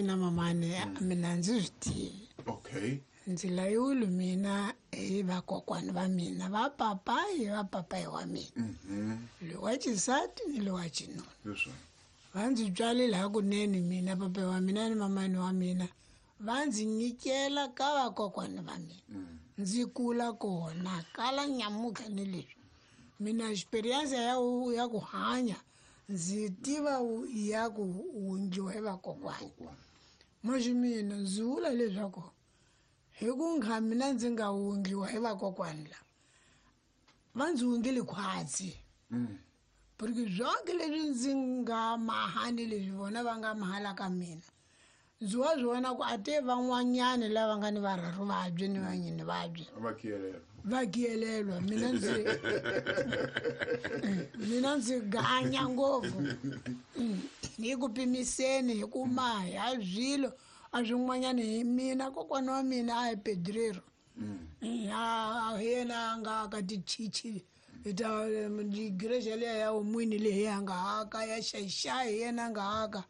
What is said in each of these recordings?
Na mamani mina ndzi swi tivi. Okay. Ndzi layiwile mina hi vakokwani va mina, va papayi va papayi wa mina, loyi wa xisati ni loyi wa xinuna. Leswi Va ndzi tswalile hakunene mina, papayi wa mina ni mamani wa mina va ndzi nyikela ka vakokwani va mina, ndzi kula kona kala nyamutlha. Ni leswi mina experience ya ku hanya ndzi tiva ya ku wundliwa hi vakokwani. Moxi mina ndzi vula leswaku hi ku nga mina ndzi nga wundliwa hi vakokwani lava, va ndzi wundlile khwatsi, porque zonke leswi ndzi nga mahani leswi vona va nga mahala ka mina, ndzi wa swi vona ku a te van'wanyani lava nga ni varharu vabye ni vanyini vabye va kiyelela. Va kiyelelwa. Mina ndzi ganya ngopfu hi ku pimiseni, hi ku maha swilo a swin'wanyani. Hi mina kokwana wa mina a hi pedrero, a hi yena a nga ka tichichi ta igreja liya ya umwini leyi a nga haka ya xaxai, hi yena a nga haka.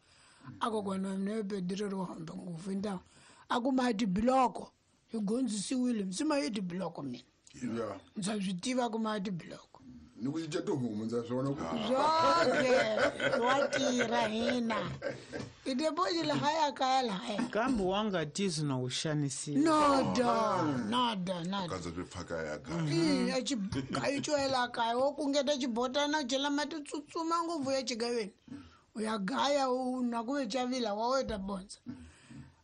A kokwana wa mina yo pedrero wa hambe ngopfu ntawo a kuma tibiloko, hi gondzisiwile msima hi tibiloko mina. Ndza swi tiva kuma tibiloko. Ni ku cinca tihomu, ndza swona ku Zwonke wa tirha hina i deposit lahaya kaya lahaya. Kambe wa nga tizi na u xanisiwa. Noda noda noda. Kandza swi pfaka ya kaya. I ayi cwela kaya, wo kungeta xibotana, u chela mati, tsutsuma ngopfu ya xigaveni, u ya gaya, u na ku ve chavila wa weta bondza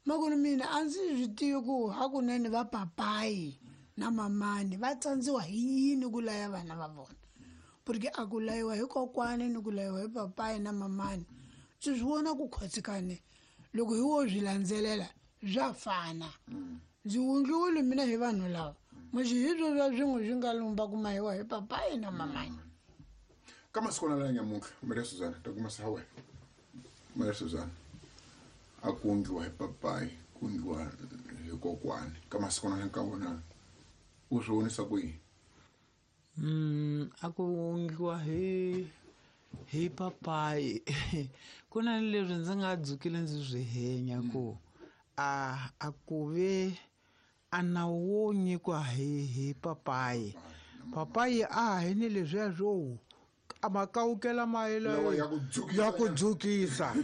makulu. Mina a ndzi swi tivi ku hakunene va papayi na mamani va tsandziwa hi yini ku laya vana va vona, porque a ku layiwa hi kokwani ni ku layiwa hi papayi na mamani, ndzi swi vona ku khotsikane loko hi wo swi landzelela swa fana. Ndzi wundliwile mina hi vanhu lava moxi, hi swo swa swin'we swi nga lumba ku mahiwa hi papayi na mamani. Ka masikwana la nyamuntlha, Maria Suzana, ta kuma sa wena Maria Suzana, a ku endliwa hi papayi, ku endliwa hi kokwani, ka masikwana la ka wona u swi vonisa ku yini? A ku endliwa hi papayi, ku na leswi ndzi nga dzukile ndzi swi henya ku a ku ve a nawu wo nyikiwa hi papayi. Papayi a hi ni leswiya swo a makawukela mayelo Lawa ya ku dzukisa. Ya ku dzukisa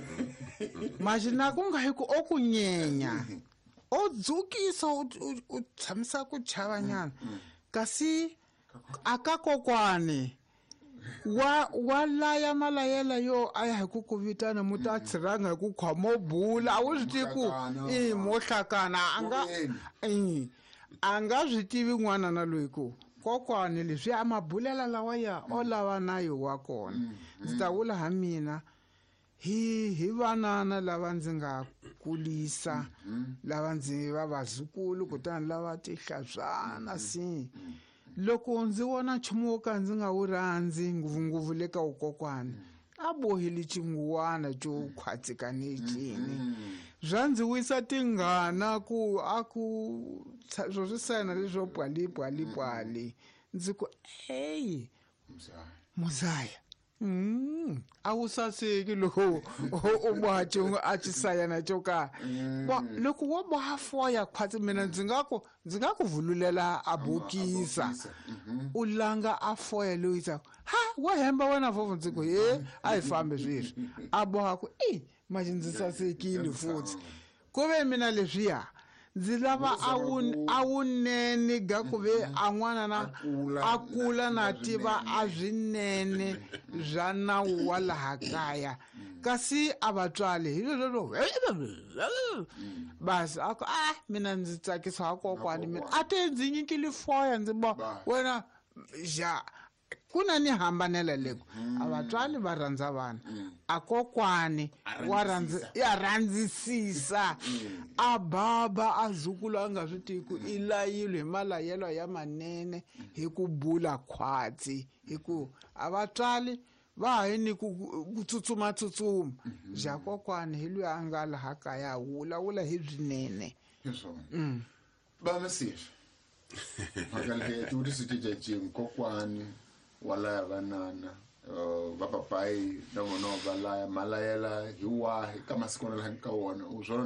maxi na ku nga hi ku o ku nyenya, o dzukisa, u tshamisa ku chavanyana. Kasi a ka kokwani wa laya malayela yo a ya hi ku vitana mu ta tshiranga hi ku khoma bula, a wu swi tivi ku Hlakana. I mo hlakana a nga Kuveni. i a nga swi tivi n'wana na loyi ku kokwani leswi a mabulela lawa ya o lava nayo wa kona. Ndzi ta vula ha mina hi vanana lava ndzi nga kulisa, lava ndzi va vazukulu, kutani lava tihlabyana si loko ndzi vona nchumu wo ka ndzi nga wu rhandzi ngopfungopfu le ka wukokwani a bohile xinguwana xo khwatsikane cini, swa ndzi wisa tingana ku a ku swo swi sayina leswo pwali pwali pwali, ndzi ku eyi muzaya, a wu saseki loko u boha xin'we a xisayana xo karhi. Bo loko wo boha foya khwatsi, mina ndzi nga ku vululela a bokisa, u langa a foya loyi tsaku ha wa hemba wena fofo. Ndzi ku he a hi fambi sweswi, a boha ku i manje ndzi sasekile futhi. Ku ve mina leswiya ndzi lava a wunene ga ku ve a n'wana na a kula na tiva a swinene swa nawu wa laha kaya. Kasi a vatswali hi leswo basi a ku a mina ndzi tsakisa wa kokwani mina a te ndzi nyikile foya, ndzi bo wena ja ku na ni hambanela leko a vatswali va rhandza vana, a kokwani wa rhandza ya rhandzisisa a baba a zukulu a nga swi tivi ku i layile hi malayelo ya manene hi ku bula khwatsi, hi ku a vatswali va ha ni ku tsutsuma tsutsuma ja kokwani hi loyi a nga laha kaya vulavula hi swinene. Hi swona va masifi mhaka leyi tivutiso cececini kokwani wa laya vanana, va papayi na vona va laya malayela hi wahi ka masikwana laha ka wona u swona?